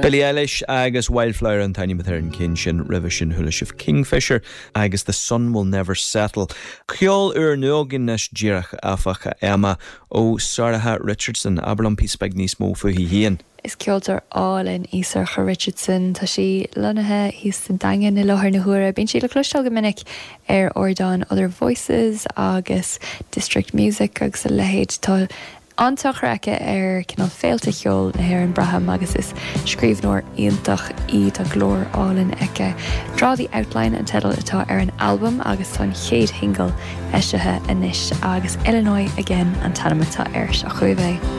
Billie Eilish agus Wildflower an t-ainm atá ar an gceann sin. Roimhe sin chuala sibh Kingfisher agus The Sun Will Never Settle. Ceol úrnua againn anois díreach, áfach, a Emma, ó Sorcha Richardson. Abair liom píosa beag níos mó fúithi féin. Is ceoltóir álainn í Sorcha Richardson. Tá sí lonnaithe thíos sa Daingean i láthair na huaire. Bíonn sí le cloisteáil go minic ar ardáin Other Voices agus District Music agus a leithéid. Tá an-tionchar aici ar cineál féilte cheoil na hÉireann, braithim, agus is scríbhneoir iontach í. Tá glór álainn aici. Draw the Outline an teideal atá ar an albam agus tá an chéad shingil eisithe anois agus Illinois Again an t-ainm atá air. Seo chugaibh é.